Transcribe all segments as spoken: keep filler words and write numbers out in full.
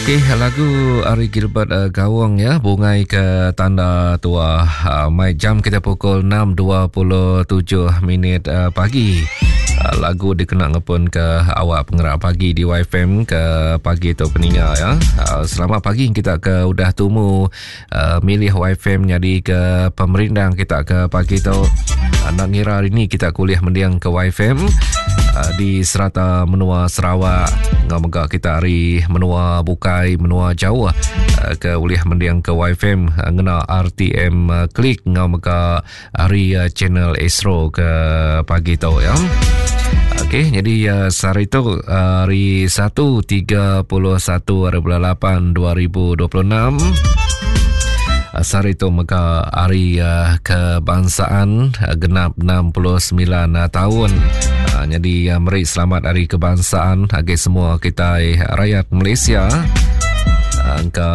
Okey, lagu ari Gilbert uh, Gawong ya, Bungai ke Tanda Tua. Uh, mai jam kita pukul enam dua puluh tujuh minit uh, pagi. Uh, lagu dikena ngepun ke awak pengerak pagi di Y F M ke pagi tu peninga ya. Uh, selamat pagi kita ke udah tumu uh, milih Y F M jadi ke pemerindang kita ke pagi tu. Uh, nak ngira hari ni kita kuliah mendiang ke Y F M uh, di serata menua Sarawak. Ngau mega kita hari menua bukai menua jauh uh, ke ulih mendiang ke Y F M uh, ngena R T M uh, klik ngau mega hari uh, channel Astro ke pagi tu ya. Okey, jadi uh, sehari tu uh, hari satu tiga puluh satu hari bulan lapan dua ribu dua puluh enam. Sehari tu mega hari uh, kebangsaan uh, genap enam puluh sembilan uh, tahun. Uh, jadi uh, meri selamat hari kebangsaan bagi semua kita rakyat Malaysia. Angka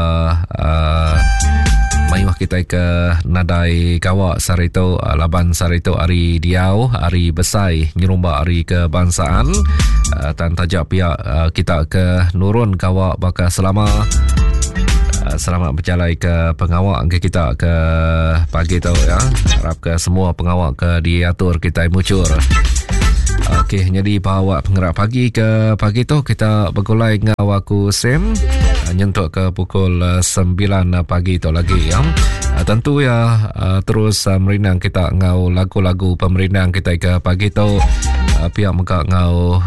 uh, mayuh kita ke nadai kawak sehari tu, uh, laban sehari tu hari diau, hari besai nyerumba hari kebangsaan. Uh, tan tajak pihak uh, kita ke nurun kawak bakal selama. Uh, selamat berjalan ke pengawak ke kita ke pagi tu ya. Harap ke semua pengawak ke diatur kita mucur. Okey, jadi bawa penggerak pagi ke pagi tu kita bergulai dengan aku Sam nyentuk ke pukul sembilan pagi tu lagi ya. Tentu ya terus merindang kita ngau lagu-lagu pemerindang kita ke pagi tu. Pihak mega ngau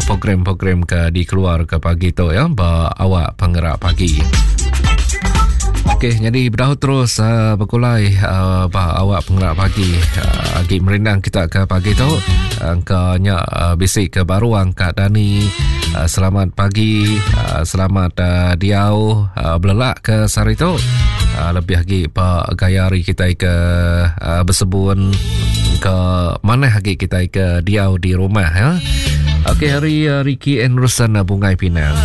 program-program ke dikeluar ke pagi tu ya, ba awak penggerak pagi. Okey, jadi berdahu terus uh, berkulai uh, bah awak penggerak pagi. Uh, agi merindang kita ke pagi tu. Angkanya uh, bisik ke baru angkat Dani. Uh, selamat pagi, uh, selamat uh, diau uh, belelak ke sehari tu. Uh, lebih lagi pak gaya hari kita ke uh, bersebun ke mana lagi kita ke diau di rumah ya. Okey, hari uh, Ricky Anderson uh, Bungai Pinang.